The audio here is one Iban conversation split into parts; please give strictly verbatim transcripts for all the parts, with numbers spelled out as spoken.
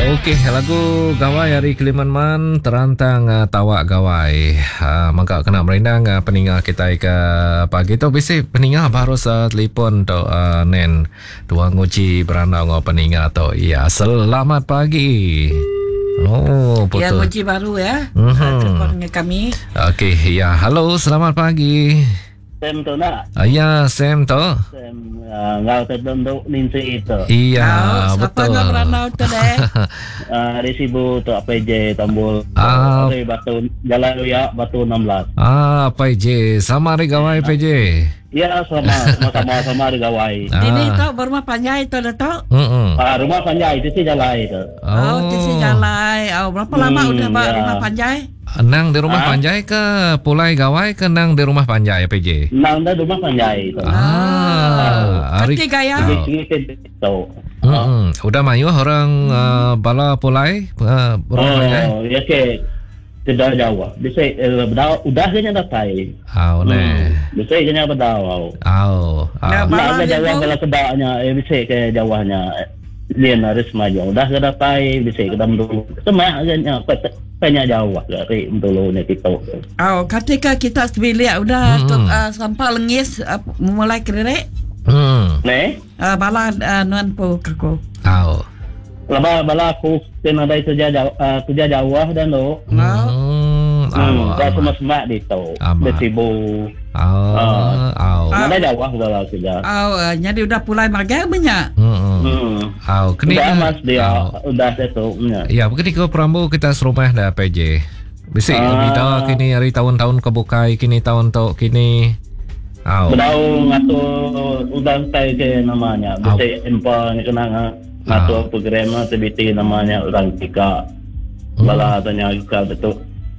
Okey, lagu Gawai hari Keliman Man terantang uh, tawak Gawai. Uh, maka kena merindang uh, peninga kita ke pagi tu bisi peninga baru sa telefon tu uh, nen tuang nguji berandau ngau peninga tu. Ya, selamat pagi. Oh, betul. Ya, nguji baru ya. Mhm. Telefon dengan kami. Okey, ya. Halo, selamat pagi. Sam tu nak. Uh, ya, Sam tu. Sam uh, ngau terbentuk ninsi itu. Iya, Oh, siapa betul. ngau berandau tu deh? Uh, di Sibu tu A P J Tambul. Ah. Dari Batu Jalan Luya Batu enam belas. Ah, P J, sama hari gawai P J. Ya, sama sama sama hari gawai. Ah. Ini tu berumah panjai tu dah tu. Mm-mm. Ah, rumah panjai itu sih jalan itu. Oh, oh sisi jalan. Oh, berapa lama Hmm, udah bak ya. rumah panjai? Nang di rumah Ah. panjai ke pulai gawai ke nang di rumah panjai P J? Nang di rumah panjai itu. Ah, hari Kaki gaya. Oh. Sini tu. Mm-mm. Udah mayu orang uh, bala pulai uh, rumah panjai. Oh, ya ke tidak jauh. Bisa eh, udah udah kena datai. Ah, ne. Bisa kena bedau. Au. Ya, Au. Bala Nak ke jauh dia tu. kalau kedaknya, eh bisa ke jauhnya. Dia harus maju. Udah ke datai, bisa ke dalam dulu. Semak kena banyak jauh dari dulu ni kita. Oh, ketika kita sebilik udah Hmm. tu, uh, sampai lengis uh, mulai kerek. Hmm. Ne? Uh, bala uh, nuan po kako. Au. Laba bala aku kena dari kerja jauh, uh, kerja jauh dan tu. Oh. Hmm. Au. Hmm, dah semua semak di tu. Amat. Bersibu. Au. Au. Mana jauh bala kerja. Oh, uh, jadi udah pulai magang banyak. Hmm. Hmm. Au. Kini Udah mas dia, Au. udah itu. Ya. Ya, begini ke perambu kita serumah dah P J. Bisik Ah. bida kini hari tahun-tahun kebukai kini tahun tok kini. Au. Bedau ngatur udah tai ke namanya. Au. Bisa empa ni kena nga- ngatur program aktiviti namanya orang tiga. Hmm. Bala tanya ke betul.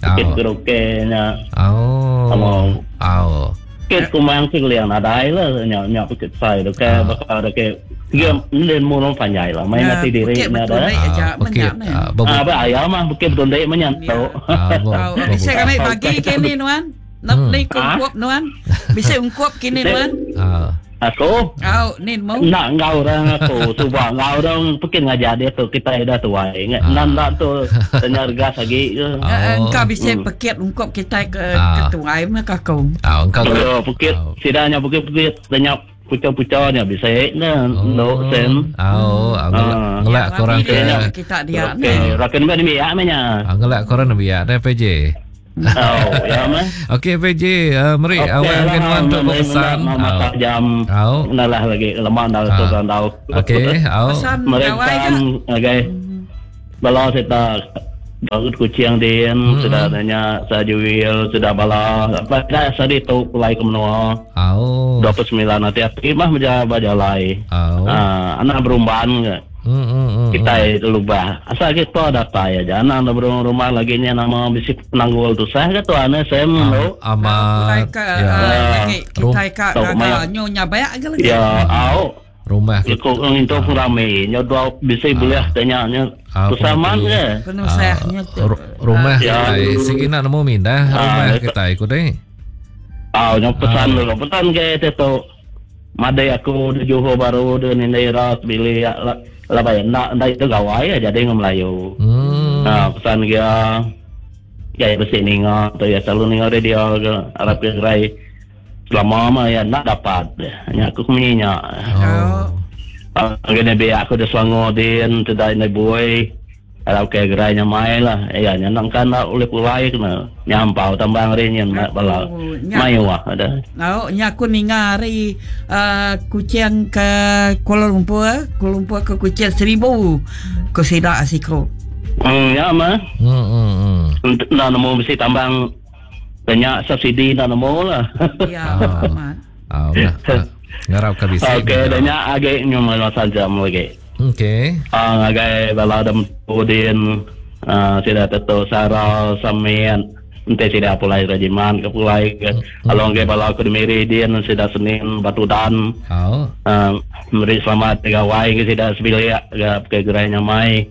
Au. Kit karaoke nya. Au. Sama. Au. Kit kumang sing liang nadai lah nya nya bukit sai tu ke Ah. bakal ada ke tiga ni mulung panjai lah main Ya, nanti diri bukit na betul ada. ni. Aja, Ah, bukit. banyak ni. Ah, bebu- Ah, ba ayam mah bukit betul dek menyantu. Ah, bu- Oh, bu- bisa kami bagi kini nuan. Nak Hmm. ni ungkup nuan. Bisa ungkup kini nuan. Ah. Aku Oh, ni mau. nak ngau orang aku cuba ngau orang mungkin ngajar dia tu kita dah tua ingat Ah. nak nak tu tanya gas lagi ke Ah. Uh, engkau bisa Hmm. pekit ungkup kita ke Ah. ketuai mah kakau. Ah, engkau Oh, bukit Ah. sidanya bukit bukit tanya puca-pucanya bisa na Oh. no sen Au, ah, ngelak, Ah. ngelak korang ke ke kita dia okey ni. rakan ba ni ya menya ah, ngelak korang biar dah P J. oh ya mah Okey P J, uh, meri Okey awak lah, mungkin wan untuk meri berpesan. nak mata Au. jam Au. nalah lagi lemah dah tu Ah. kan tau Okey, au. Pesan mereka gawai ke? okey bala serta baru kucing din Hmm. sudah tanya sajuil sudah bala apa dah sadi tu pulai ke menua Au. dua puluh sembilan nanti api mah menjaba jalai Au. ah anak berumban ke Hmm, hmm, hmm. kita itu lubah asal kita datai aja anak ada berumah lagi nya nama bisi penanggul tu sah ke tu ane sem lo Pulai Amat. ke Ya. ah, lagi Rum- kita ke Tau, gagal maya. nyonya banyak ke lagi. ya au Rumah kita. Kau itu rame, nyo dua bisa boleh tanya nya Ah, tu sama pengerti. ke. Penuh sahnya tu. Ru- rumah Ya. kita sigi nak nemu mindah rumah Ah, kita ikut deh. Ah, nyo pesan dulu, pesan ke itu tu. Madai aku di Johor baru di Nindera bili ya lah lah bayar nak nak itu gawai ya jadi ngam Melayu. Hmm. Ah, pesan dia ya bersih ninga tu ya selalu ninga dia dia ke Arab ke gerai. Selama mah ya nak dapat. Nya aku kemenyinya. Oh. Ah, kena biar aku dah Selangor din, tidak nak boy. Kalau ke gerai nya mai lah. Ya, nya nak kan nak oleh pulai kena. Nyampau tambang rin nya bala. Oh, nya- Mai wah ada. Oh, nya aku ninga hari uh, kucing ke Kuala Lumpur, Kuala Lumpur ke kucing seribu. Ku sidak asiko. Hmm, ya mah. Hmm, hmm, hmm. Nak nemu mesti tambang banyak subsidi nak nemu lah. Ya, Ah. amat. Ah, nah, ah, ngarap ke bisa. Okey, dah nya agak nyum masa jam lagi. Okey. Ah, agak bala dam udin ah sida teto sara samian ente sida pulai rajiman ke pulai ke along ke bala aku dimiri din sida senin batu dan Au. ah, meri selamat gawai ke sida sebilik ke ke gerai nyamai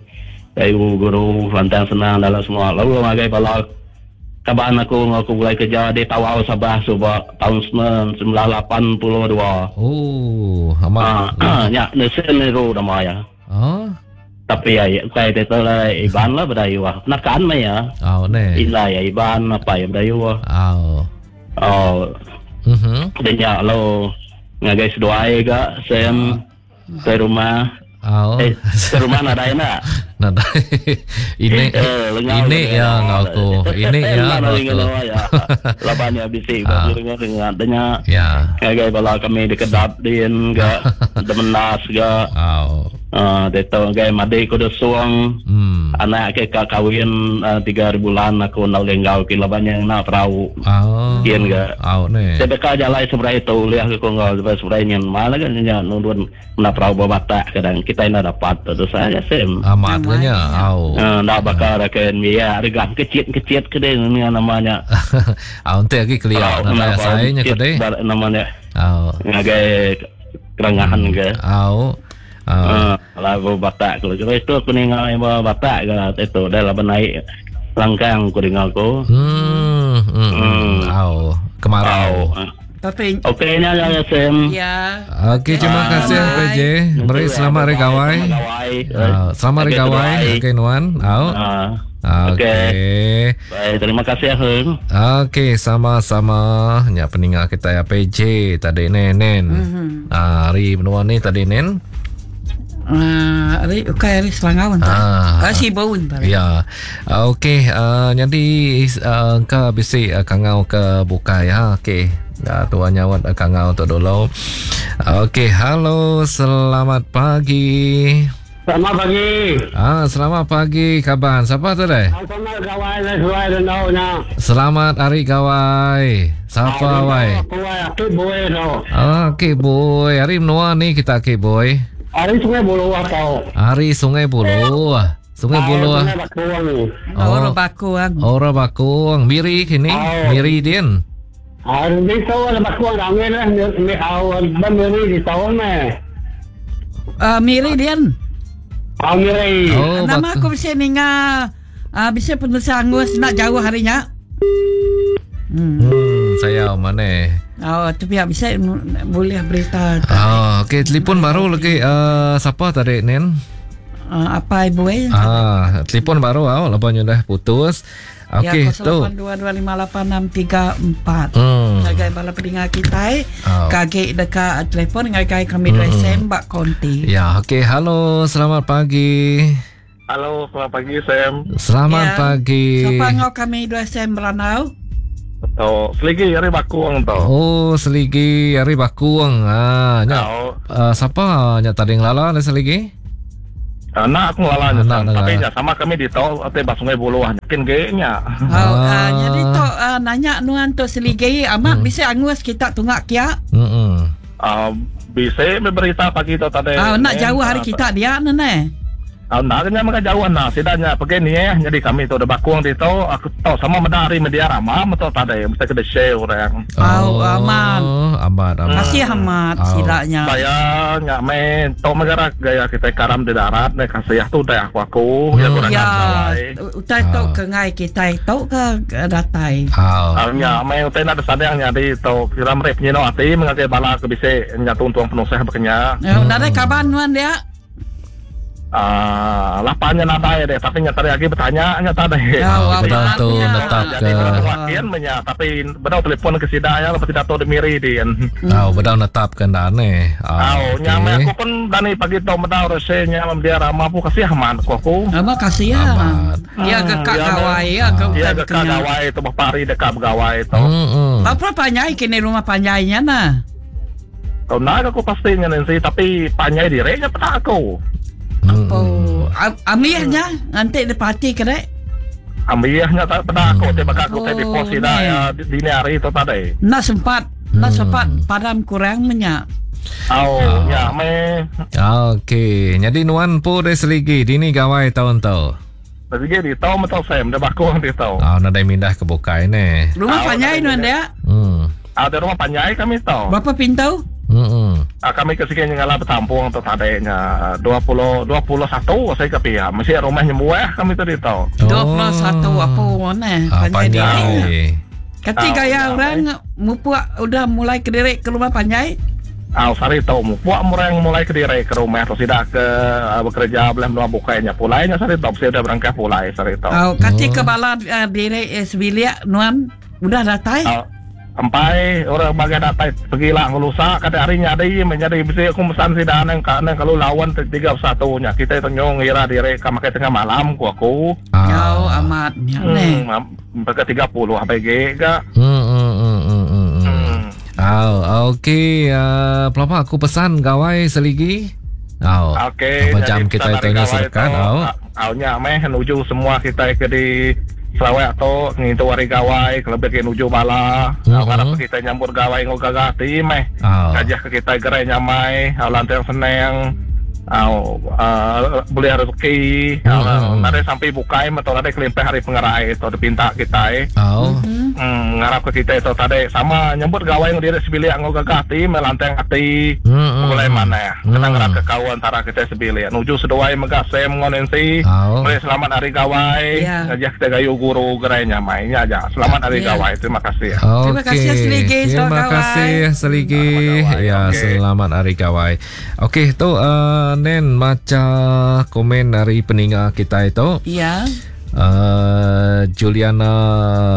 ibu guru lantang senang dalam semua lalu agai bala kaban aku aku mulai kerja di Tawau Sabah subak tahun sembilan lapan puluh dua Oh, amat. ah ya nesen niru nama ya Oh. Tapi Tapi ya kai itu lah Iban lah Bidayuh. Nakan mah ya. Oh ne. Ina ya Iban apa ya Bidayuh. Oh. Oh. Mhm. Dia lo ngagai seduai ga sem ke rumah. Oh. Eh, ke rumah nadai nak. Nadai. Ini Eh, lengau ini dengan ya awak. ngau aku. Ini ya Lengau ngau dengan aku. awak, ya. Laban ya bisi Ah. dengan dengan dengan Ya. ngagai bala kami dekedap din ga demenas ga. Oh. Ah, dia tahu ngagai madi ko suang. Hmm. Anak ke ka kawin ah, tiga bulan aku nak lenggau ke laban yang nak perahu. Oh. Kian ga. Oh ne. Saya dekat jalan seberai itu lihat ke konggal seberai seberai nyen mana kan nyen nundun nak perahu bawa batak kadang kita nak dapat tu saya sem. Amat nya. Oh. Ah, nak bakar akan ya regang kecil-kecil ke dia ni namanya. Ah, nanti lagi kelia Perahu, nak perahu saya nya kecil, ke deh. bar- Namanya Oh. ngagai kerengahan ke. Oh. Oh. Ah, lah bawa batak kalau kalau itu aku dengar yang bawa batak ke itu dah lah naik langkang aku dengar aku. Hmm. Hmm. Hmm. Oh. Kemarau. Oh. Tapi Okey ni ya Sam. ya. Okey, terima Ah. kasih Bye. P J. Beri selamat hari gawai. Ah, selamat hari Okey, gawai. bye. Okey Nuan. Au. Ah. Okey. Baik, terima kasih Heng. Okey, sama-sama. Nya peninggal kita ya P J tadi nen nen. Mhm. Ah, hari menua ni tadi nen. Ah, hari ukai hari Selangau entah. Ah. Ah, Sibu entah. Ya. Ah, Okey, uh, jadi uh, ke bisi uh, kangau ke bukai ya. Okey. Uh, tuan nyawat uh, kangau untuk dulu. Okey, halo, selamat pagi. Selamat pagi. Ah, selamat pagi kaban. Siapa tu deh? Selamat gawai dan suai dan na. Selamat hari gawai. Siapa wai? Aku wai aku boy tu. Ah, okey boy. Hari menua ni kita okey boy. Hari Sungai Buloh atau. Hari Sungai Buloh. Sungai Buloh. Sungai Bakuang. Oh. Orang Bakuang. Orang Bakung. Miri kini. Oh. Miri din. Hari ni tahu ada Bakuang ramai lah. Mi awal ban miri di tahun meh. Ah, Miri dian. Ah miri. Oh, Nama Bakung. aku bisa ninga ah, bisa penulis angus nak jauh harinya. Hmm. Hmm, saya mana? Oh, tu pihak bisa boleh berita Ah, okey, telefon baru lagi uh, siapa tadi Nen? uh, apa ibu eh? Ah, telefon baru ah, lepas dah putus. Okey, ya, tu. kosong lapan dua dua lima lapan enam tiga empat. Hmm. Ngagai bala pendengar kita eh. Oh. Kaget dekat telefon ngagai kami hmm. S M bak konti. Ya, okey, halo, selamat pagi. Halo, selamat pagi Sam. Selamat Ya. pagi. Siapa ngau kami dua S M Meranau? Atau seligi hari Bakuang tu. Oh, seligi hari Bakuang. Ah, nya. Oh. Uh, siapa nya tadi ngelala ada seligi? Anak aku ngelala nya, Anak Sam. Tapi ngelala. nya sama kami di tau atau bah Sungai Buloh yakin ge nya. Oh, Ah. ah. jadi tu ah, nanya nuan tu seligi amat hmm. bisa angus kita tungak kia. Hmm. Ah, bisa berita pagi tu tadi. Ah, nak jauh hari Ah, kita dia nene. Ah, nak nya maka jauh nak sidanya pergi ni eh. Jadi kami tu ada Bakuang di tau aku tahu sama medari media ramah atau tadi mesti kena share orang. Oh, aman. Aman, aman. Kasih amat Oh. silanya. Saya nyak main tau megara gaya kita karam di darat ne kasih tu dah aku aku ya Hmm. kurang Ya, gawai. utai tu Ah. ke ngai kita tu ke ke datai. Ah. Ah, nya main utai nak sadang nya di tau kira mereka penyino ati mengakai bala ke bise nya tuntuang penusah bekenya. Ya, nadai kaban nuan dia. Ah, lapannya nadai deh, tapi nya tadi lagi bertanya nya tadi. Ya, Ah, amat betul tu nya. netap Jadi ke. benar wakian menya, tapi benar telefon ke sida ya lepas tidak tahu demiri di. Ah, betul netap ke ndak ni. Ah, Aw, nya okey. aku pun dani pagi tau medau resenya mam dia ramah pu kasih aman aku aku. Ama kasih ya. Amat. Ya ke kak Ya, gawai ya ke Dia utai dekat kenya. gawai tu pari dekat begawai tu. Hmm. hmm. Berapa panjai kini rumah panjainya nah? Kau nak aku pastinya nanti tapi panjai dirinya pada aku. Hmm. Oh, am- amirnya nanti dia parti kerek. Ambilnya tak pada aku, tiba aku tadi Oh, pos sida ni. ya di dini hari itu tadi. Nak sempat, nak Hmm. sempat padam kurang menyak. Aw, ya me Okey, jadi nuan pu dari seligi dini gawai tahun tu. Tapi di tau metau sem, dia baku di tau. Ah, nadai mindah ke bukai ni. Rumah Ah, panjai nadai nuan mindah. dia. Hmm. Ada rumah panjai kami tau. Berapa pintu? Hmm. Ah, kami ke sini ngalah bertampung atau tadanya dua puluh dua puluh satu saya ke pihak. Mesti rumahnya muah kami tadi tau. Dua puluh satu apa mana? Ah, Panjai diri. panjai. Ketika Ah, ya ya, orang mupuk udah mulai kederek ke rumah panjai. Ah, sari tu puak murang mulai ke diri ke rumah tu sidak ke uh, bekerja belah menua bukainya pulai nya sari tu mesti udah berangkat pulai sari tu. Oh, kati ke bala uh, diri eh, sebilik nuan udah datai? Ah, empai orang bagai datai pergilah ngelusa kata hari nyadi menjadi bisi aku pesan sida nang ka nang kalau lawan tiga satu nya kita tanyong ngira diri ka makai tengah malam ku aku. Oh, amat nya neh. Hmm, pakai tiga puluh sampai ge ga. Hmm hmm hmm hmm. hmm. Hmm. Ah, okey, uh, pelapa aku pesan gawai seligi. Oh. Okey, Apa jam kita itu nya serkan, oh. Au nya meh nuju semua kita ke di Sarawak tu ngintu hari gawai kelebih ke nuju bala. Mhm. Mm-hmm. Harap kita nyambut gawai ngau gagah ti meh. Oh. Kajah ke kita gerai nyamai, au lantang senang. Au uh, boleh rezeki. Mhm. Mm-hmm. Nare sampai bukai atau nare kelimpah hari pengerai atau dipinta kita. Eh. Oh. Hmm, ngarap ke kita itu tadi sama nyambut gawai ngau diri sebilik ngau gagah ti meh lantang ati. Hmm. Mulai mana? Hmm. Kena ngarap ke kawan antara kita sebilik. Nuju seduai megah Sam ngau Nancy. Oh. Boleh selamat hari gawai. Ya. Ngajak kita gayu guru gerai nyamai nya aja. Selamat hari Ya. gawai. Terima kasih. Okey. Terima kasih, Seligi. Terima Selamat gawai. kasih Seligi. Selamat gawai. Ya, Okey. selamat hari gawai. Okey, tu uh, Nen baca komen dari peninga kita itu. Ya. Uh, Juliana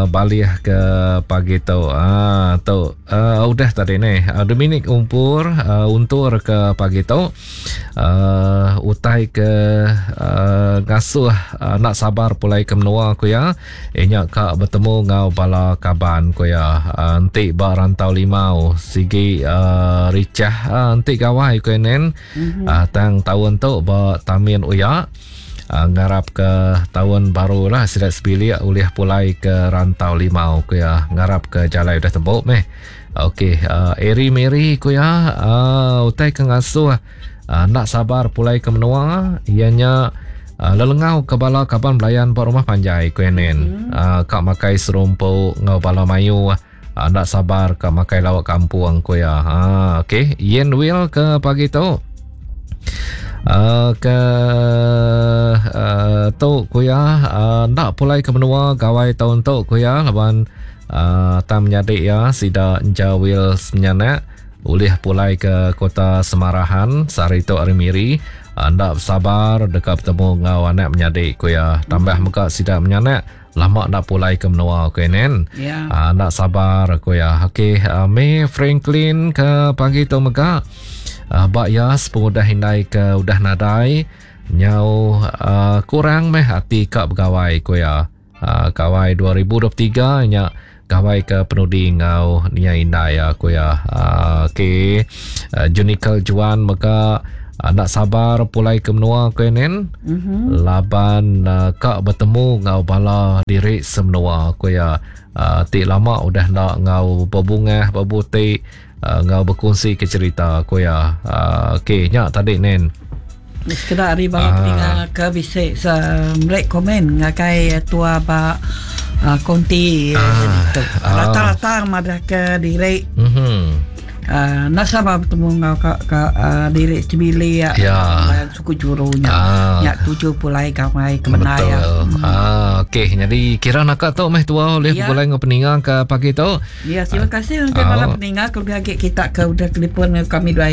balik ke pagi tu. Ah tu uh, udah tadi ni. Uh, Dominic Umpur uh, untur ke pagi tu. Uh, utai ke uh, ngasuh uh, nak sabar pulai ke menua ku ya. Inya ka bertemu ngau bala kaban ku ya. Uh, entik ba rantau limau sigi uh, ricah uh, entik gawai ku nen. Mm-hmm. Uh, tang tahun tu ba tamin uya. Uh, ngarap ke tahun baru lah sidak sebilik ulih pulai ke rantau limau ku ya. Ngarap ke jalai udah tembok meh. Okey, uh, Eri Mary ku ya, uh, utai ke ngasuh uh, nak sabar pulai ke menua ianya uh, lelengau ke bala kaban belayan buat rumah panjai ku nen. Hmm. Uh, kak makai serumpuk ngau bala mayu uh, nak sabar kak makai lawak kampung ku ya. Ha okey, Yen Will ke pagi tu. Uh, ke uh, tu kuya uh, nak pulai ke menua gawai tahun tu kuya laban uh, tam menyadik ya sida Jawil menyanak ulih pulai ke kota Semarahan sehari tu hari miri uh, nak sabar dekat bertemu ngau anak menyadik kuya tambah muka sida menyanak lama nak pulai ke menua kuya nen. Ya. Uh, nak sabar kuya. Okey, uh, May Franklin ke pagi tu mega Uh, Bak Yas pengudah hindai ke udah nadai nyau uh, kurang meh hati kak begawai ku ya. Uh, gawai dua ribu dua puluh tiga nya gawai ke penudi ngau nia indai ya ku ya. Uh, okey. Uh, Junikal Juan mega uh, nak sabar pulai ke menua ku nen. Mm-hmm. Laban uh, kak bertemu ngau bala diri semenua ku ya. Uh, tik lama udah nak ngau berbungah berbutik Uh, ngau berkongsi ke cerita aku ya. Uh, okey, nyak tadi nen. Sekedar hari bala peninga ke bisik merek komen ngakai tua ba uh, konti ah, tu. Rata-rata madah ke diri. Mhm. Uh, nak sabar bertemu ngau ka, ka uh, diri cibili ya. Ya. Suku jurunya. Ah. Nyak tuju pulai gawai ke mana ya. Betul. Ah, okey. Jadi kira nak tu meh tua oleh Ya. pulai ngau peninga ke pagi tu. Ya, terima kasih untuk Ah. bala peninga kelebih lagi kita ke udah telefon dengan kami dua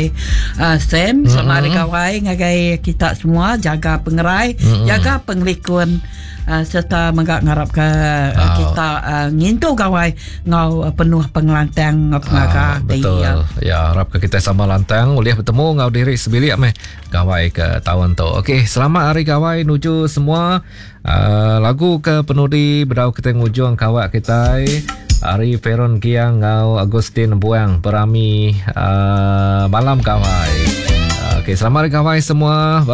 uh, Sam sama hari gawai ngagai kita semua jaga pengerai, Mm-mm. jaga pengelikun uh, serta menggak ngarap ke uh, Ah. kita uh, ngintu gawai ngau uh, penuh pengelantang ngau pengaga Ah, betul. Ya. Ya, harap ke kita sama lantang boleh bertemu ngau diri sebilik meh gawai ke tahun tu. Okey, selamat hari gawai nuju semua. Uh, lagu ke penudi bedau kita ngujung kawak kita Ari Peron Giang ngau Agustin Buang berami uh, malam gawai. Okey, selamat hari gawai semua.